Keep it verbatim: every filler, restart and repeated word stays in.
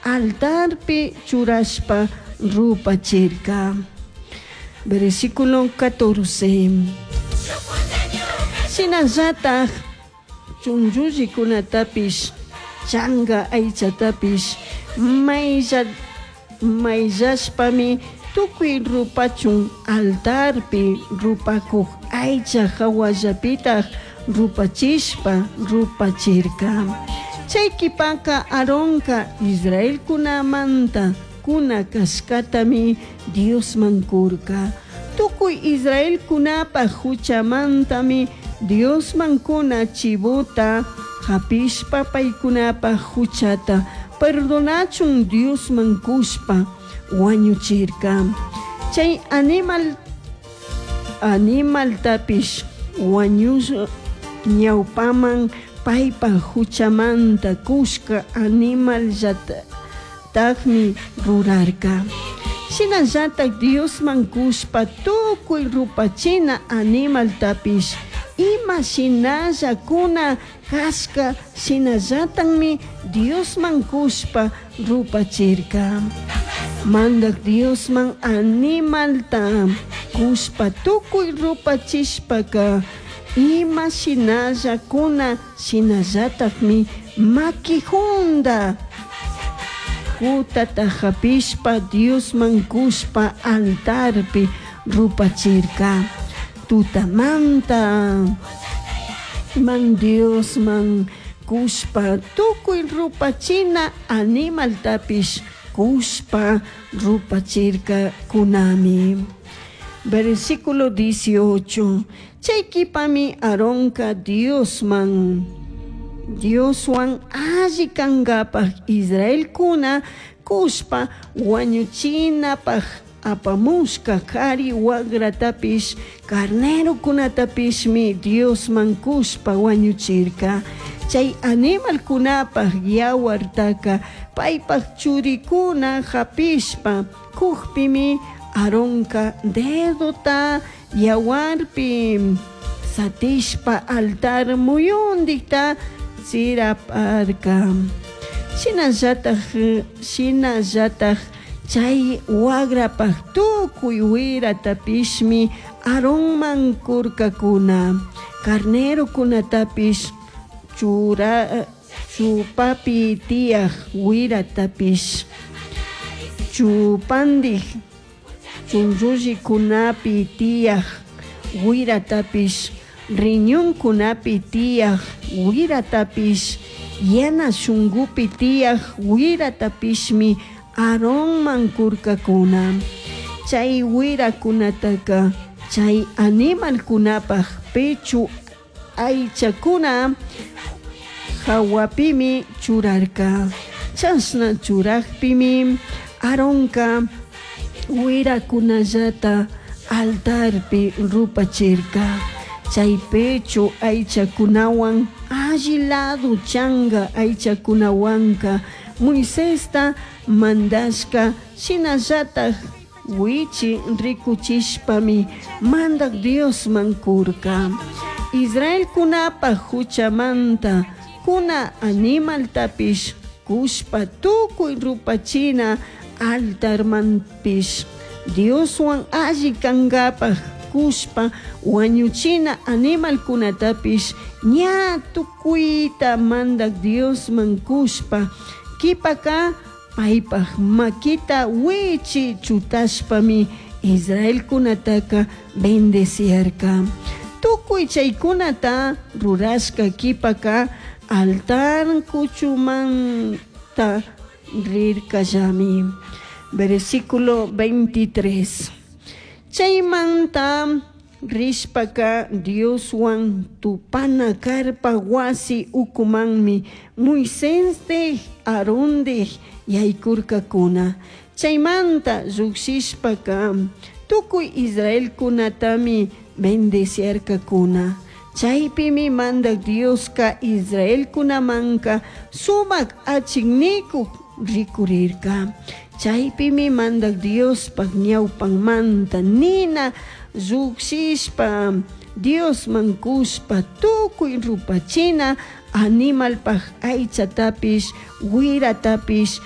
Altarpi churashpa rupachirca. Versículo catorce. Shinallataj chunllullicunatapish changa aichatapish mailla maillashpami tucui rupachun altarpi rupacuj aicha jahuallapitaj rupachishpa rupachirca. Chay q'uipaca Aaronca Israelcunamanta cuna cashcatami Diosman curca. Tucui Israelcunapaj juchamantami Diosman cuna chivota japishpa paicunapaj juchata perdonachun Diosman cushpa huañuchirca. Chay animal animaltapish huañush ñaupaman paipaj juchamanta cushca animallatajmi rurarca. Shinallataj Diosman cushpa tucui rupachina animaltapish ima shinalla cuna cashca shinallatajmi Diosman cushpa rupachirca. Mandaj Diosman animalta cushpa tucui rupachishpaca ima shinalla cuna shinallatajmi maqui junda cutata japishpa Diosman cushpa altarpi rupachirca. Tutamanta man Diosman cushpa tucui rupachina animaltapish cushpa rupachircacunami. Versículo dieciocho. Chay q'uipami Aaronca Diosman Dioshuan alli cangapaj Israelcuna cushpa huañuchinapaj apamushca jari huagratapish carnerocunatapishmi Diosman cushpa huañuchirca. Chay animalcunapaj yahuartaca paipaj churicuna japishpa cujpimi Aaronca dedota yahuarpi satishpa altar muyundijta tsiraparca. Shinallataj shinallataj chay huagrapaj tucui huiratapishmi Aaronman curcacuna. Carnerocunatapish chura chupapi tiyaj huiratapish chupandij chunllullicunapi tiyaj huiratapish riñoncunapi tiyaj huiratapish yana shungupi tiyaj huiratapishmi Aaronman curcacuna. Chay huiracunataca chay animalcunapaj pecho aichacuna jahuapimi churarca. Chashna churajpimi Aaronca huiracunallata altarpi rupachirca. Chay pecho aichacunahuan alli lado changa aichacunahuanca Moisesta mandashca shinallataj huichi ricuchishpami Mandaj Diosman curca. Israelcunapaj juchamanta cuna animaltapish cushpa tucui rupachina altarmanpish Dioshuan alli cangapaj cushpa huañuchina animalcunatapish ña tucuita Mandaj Diosman cushpa q'uipaca paipaj maquita huichi chutashpami Israelcunataca bendeciarca. Tucui chaicunata rurashca q'uipaca altar cuchumanta rircallami. Versículo veintitrés. Chaymanta rishpaca Dioshuan tupana carpa huasi ucumanmi Moisésdij Aarondij yaycurcacuna. Chaymanta llujshishpaca tucui Israelcunatami bendeciarcacuna. Chaipimi Mandaj Diosca Israelcunamanca sumac achiknicuj ricurirca. Chaipimi Mandaj Diospaj ñaupanmanta nina llujshishpa Diosman cushpa tucui rupachina Animalpaj aichatapish, huiratapish